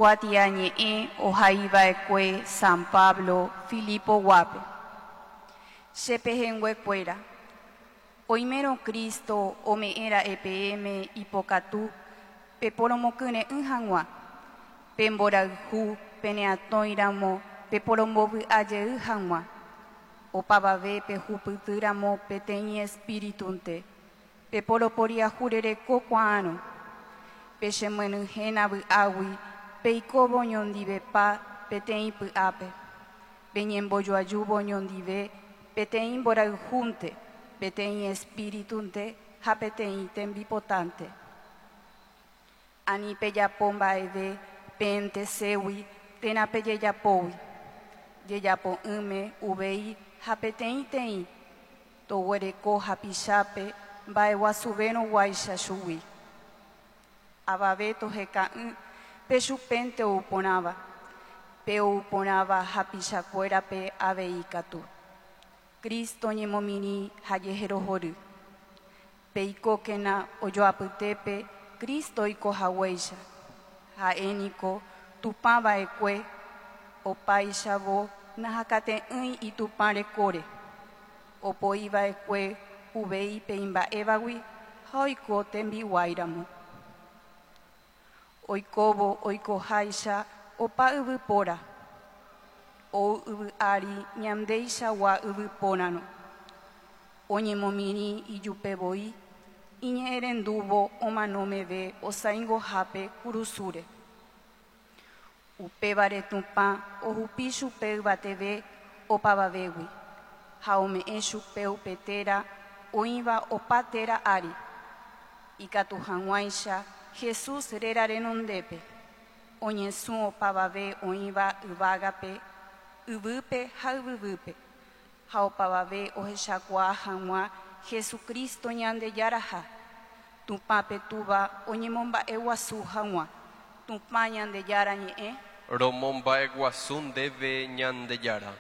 Kuatiañe'ẽ ohaiva'ekue San Pablo Filipo-guápe. Che pehẽnguekuéra, oimérõ Cristo ome'ẽra'e peẽme ipokatu peporomokyre'ỹ hag̃ua, pe mborayhu peneatõiramo peporombovy'ajey hag̃ua, opavave pehupytýramo peteĩ espíritunte, peporoporiahurereko kuaárõ, pechemyenyhẽna vy'águi peikóvo oñondivepa peteĩ py'ápe, peñembojoajúvo oñondive peteĩ mborayhúnte, peteĩ espíritunte ha peteĩ tembipotánte. Ani pejapo mba'eve peẽnteségui térã pejejapógui, jejapo'ỹme uvei ha peteĩteĩ toguereko hapichápe mba'eguasuvérõguáicha chugui. Avave toheka'ỹ pe chupénte ou porãva, pe ou porãva hapichakuérape avei katu. Cristo ñemomirĩ ha jeherohory. Peikókena ojoapytépe Cristo oikohaguéicha. Ha'éniko Tupãva'ekue opáichavo nahakate'ỹi itupã rekóre. Opoiva'ekue uvei pe imba'évagui ha oiko tembiguáiramo. Oikóvo oikoháicha opa yvypóra. Ou yvy ári ñandeichagua yvypórarõ. Oñemomirĩ ijupevoi iñe'ẽrendúvo omano meve osãingohápe kurusúre. Upévare Tupã ohupi chupe yvateve opavavégui ha ome'ẽ chupe upe téra oĩva opa téra ári. Ikatu hag̃uáicha Jesús réra renondépe oñesũ opavave oĩva yvágape, yvýpe ha yvyguýpe ha opavave ohechakuaa hag̃ua Jesucristo Ñandejaraha, Tupã pe Túva oñemomba'eguasu hag̃ua. Tupã Ñandejára ñe'ẽ. Romomba'eguasu ndéve Ñandejára.